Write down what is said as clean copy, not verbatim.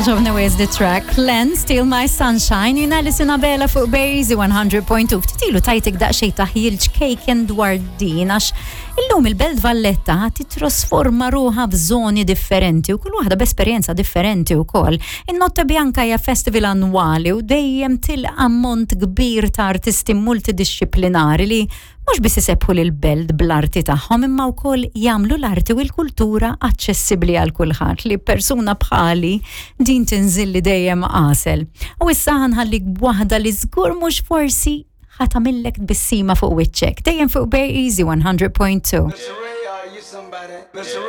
Togħġobni wisq the track. Len, Steal My Sunshine, jiena Alison Abela fuq Bejzi 100.2. Ftit ilu tajtek daqsxejn taħjil ċkejken dwar din għax illum il-Belt Valletta titrasforma ruħha f'żoni differenti u kull waħda b'esperjenza differenti wkoll. In-Notte Bianca hija festival annwali u dejjem tilqa' ammont kbir ta' artisti multidixxiplinari li mhux biss isebbħu lill-belt bl-arti tagħhom imma wkoll jagħmlu l-arti u l-kultura aċċessibbli għal kulħadd li persuna bħali din tinżilli dejjem għasel. U issa ħanħallik b'waħda li żgur mhux forsi ħa tagħmillek tbissima fuq wiċċek. Dejjem fuq Bay Easy 100.2. Mr. Ray, are you somebody? Mr. Ray.